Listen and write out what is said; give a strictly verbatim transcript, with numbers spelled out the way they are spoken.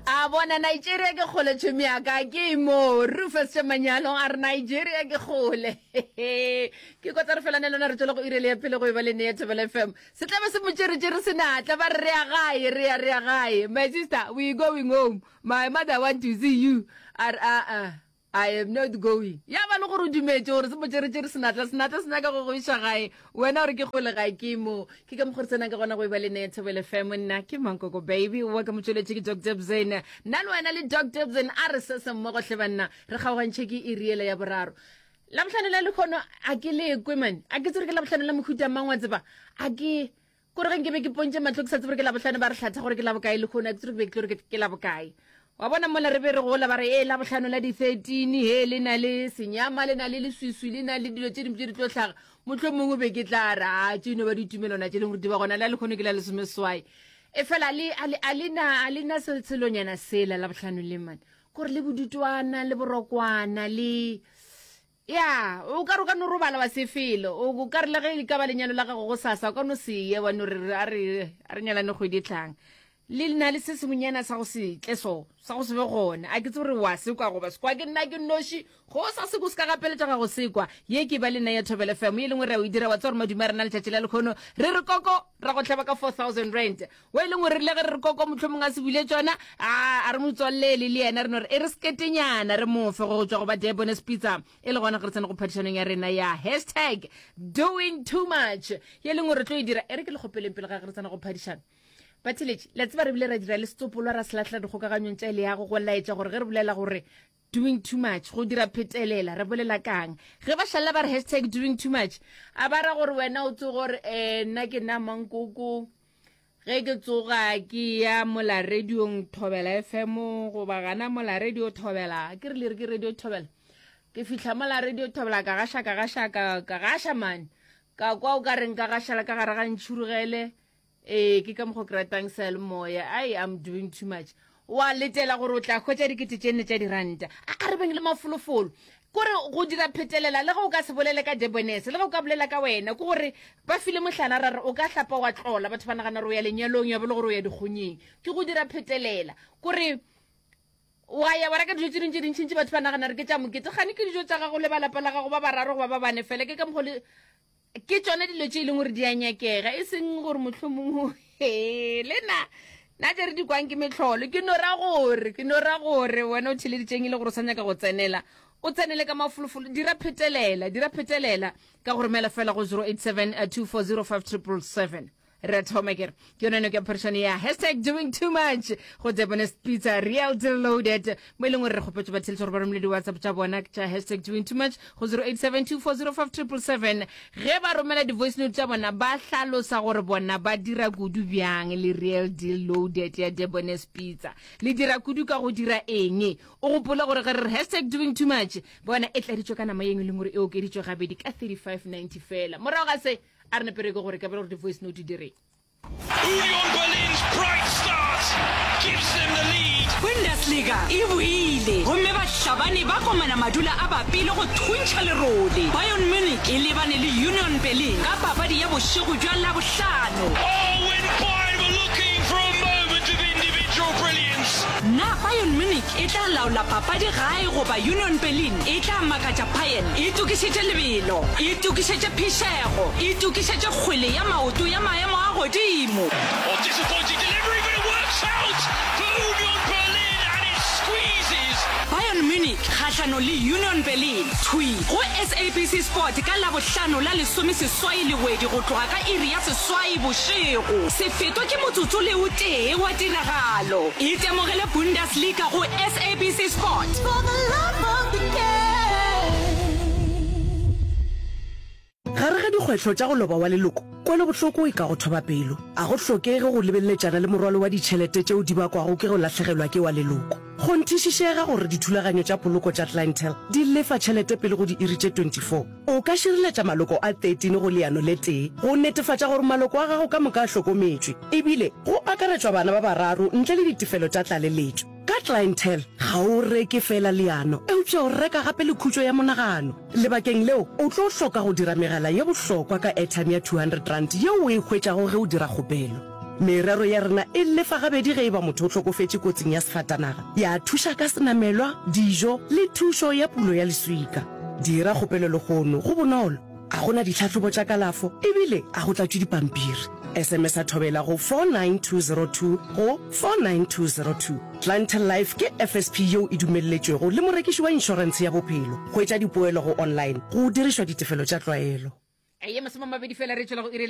A bona Nigeria ke kgole tšhomi ya ka ke mo Rufus Manyalo a re Nigeria ke kgole ke kotsa re felane lona re tswele go irele ya pele go e ba le nea Thobela FM se tlabe se motšeretšere senatla ba re re ya gae re ya re ya gae my sister we going home my mother want to see you a re a I am not going ya ba le gore o dumetse gore se motšeretšere senatla senatla se nyaka go go iša gae wena gore ke kgole gae ke mo ke ka mokgwa re tsenang ka gona go e ba le nea Thobela FM nna ke mankoko baby wa ka motsweletše ke Dr Bzena nna le wena le Dr Bzena a re se se mmogo hle banna re kgaogantšhe ke iriele ya boraro labohlano la lekgono a ke lekwe mane a ke tsere ke labohlano la mohuta mang wa tseba a ke kore ge nke be ke pontše matlho ke sa tsebe gore ke labohlano ba re hlatha gore ke labokae lekgono a ke tsere ke be ke tlo re ke labokae wa bona mola re be re gola ba re e labohlano la di-thirteen he le na le senyama le na le leswiswi le na le dilo tše dingwe tše di tlo hlaga motlho mongwe be ke tla re a tše no ba ditumelwana tše leng gore di ba gona le a lekgono ke la lesomeswai e fela a le na selonyana sela labohlano le mane kore le bodutwana le borokwana le ya o ka re o ka no robala wa sefelo o ka re le ge e ka ba lenyalo la gago go sasa o ka no seye wa no re a re a re nyalane kgwedi e tlang le na le se sengwenyana sa go se tle so sa go se be gona a ke tse gore wa sekwa goba sekwa ke nna ke noši go sa seko se ka gapeletša ga go sekwa ye ke ba le nna ya Thobela FM ye lengwe re a o e dira wa tsa gore madume a rena letšatši la lekgono re re koko ra go hlaba ka four thousand rand o e lengwe re rile ge re re koko mohlomongwe a se bule tšona a re motswallele le yena re no re e re seketenyana re mofe go tšwa go ba Debonair's Pizza e le gona ge re tsena go phadišanong ya rena ya hashtag doing too much ye lengwe re tlo e dira e re ke le kgopeleng pele ga ge re tsena go phadišano batheletši la tseba re bile ra dira le setsopolwa ra se lahlela dikgokaganyong tša leago go laetša gore ge re bolela gore doing too much go dira phetelela re bolela kang ge ba šalela ba re hashtag doing too much a ba ra gore wena o tse gore um nna ke nna mankoko ge ke tsoga ke ya mola radiong Thobela FM goba gana mola radio Thobela ke re le re ke radio Thobela ke fihla mola radio Thobela ka gaša ka gaša ka ka gaša mane ka kwa o ka reng ka gašala ka gare ga ntšhurugele ee ke ka mokgwa ke ratang seyalemoya ai I'm doing too much wa letela gore o tla hwetša dikete tše nne tša diranta a re beng le mafolofolo kore go dira phetelela le ge o ka se bolele ka Debonair's le ge o ka bolela ka wena ke gore ba file mohlala ra re o ka hlapa wa tlola batho ba nagana gore o ya lenyalong ya be le gore o ya dikgonyeng ke go dira phetelela kore wa ya wa reka dijo tše dingwe tše dintšintši batho ba nagana re ke tša mokete gane ke dijo tša gago le ba lapa la gago ba bararo goba ba bane fela ke ka mokgwa le ke tšone dilo tše e leng gore di a nyakega e seng gore mohlomongwe le nna nna tše re di kwang ke metlholo ke no ra gore ke no ra gore wena o theleditšeng e le gore o sa nyaka go tsenela o tsenele ka mafolofolo dira phetelela dira phetelela ka go romela fela go zero eight seven two four zero five triple seven re thoma kere ke yone no ke phadišano ya hashtag doing too much go Debonair's Pizza real deal loaded mo e leng gore re kgopetse batheletši gore ba romele di-whatsapp tša bona tša hashtag doing too much go zero eight seven two four zero five triple seven ge ba romela di-voice note tša bona ba hlalosa gore bona ba dira kudu bjang le real deal loaded ya Debonair's Pizza le dira kudu ka go dira eng o gopole gore ge re re hashtag doing too much bona e tladitšwe ka nama yengwe e leng gore e okeditšwe gabedi ka thirty-five ninety fela morago ga se a re nepere ke gore ka bela gore di-voice note di reng Union Berlin's bright start gives them the lead. Bundesliga e boile gomme bahlabani ba komana madula a bapile go thuntšha lerole. Bayern Munich e lebane le Union Berlin ka papadi ya bošego bja Labohlano. Oh, when Bayern were looking for a moment of individual brilliance. Na Bayern Munich e tla laola papadi gae goba Union Berlin e tla makatša Bayern? Itokišetše lebelo, itokišetše phišego, itokišetše kgwele ya maoto ya maemo a godimo. Oh, disappointing delivery, but it works out for Union Berlin and it squeezes. Bayern Munich kgahlano le Union Berlin thwi go S A B C Sport ka Labohlano la lesomeseswai Lewedi go tloga ka iri ya seswai bošego. Se fetwe ke motsotso le o tee wa tiragalo. Itemogele Bundesliga go S A B C Sport. For the love of the game. Gare ga dikgwetlho tša go loba wa leloko, kwelobohloko e ka go thoba pelo. A go hlokege go lebeleletšana le morwalo wa ditšhelete tšeo di bakwago ke go lahlegelwa ke wa leloko. Kgonthišišega gore dithulaganyo tša poloko tša Clientele di lefa tšhelete pele go diiri tše twenty-four. O ka šireletša maloko a thirteen go leano le tee go netefatša gore maloko a gago ka moka a hlokometšwe, ebile go akaretšwa bana ba bararo ntle le ditefelo tša tlaleletšo. Ka Clientele, ga o reke fela leano, eupša o reka gape le khutšo ya monagano. Lebakeng leo, o tlo hloka go dira megala ye bohlokwa ka airtime ya two hundred rand yeo o e hwetšago ge o dira kgopelo. Merero ya rena e lefa gabedi ge e ba motho o hlokofetše kotsing ya sefatanaga, ya thuša ka senamelwa, dijo le thušo ya pulo ya leswika. Dira kgopelo lehono, go bonolo, a go na ditlhahlobo tša kalafo ebile a go tlatšwe dipampiri. S M S a Thobela go four nine two zero two go four nine two zero two. Clientele Life ke F S P yeo e dumelletšwego le morekiši wa inšorentshe ya bophelo. Hwetša dipoelo go online go dirišwa ditefelo tša tlwaelo. Ye masome a mabedi fela re tšwela go iri.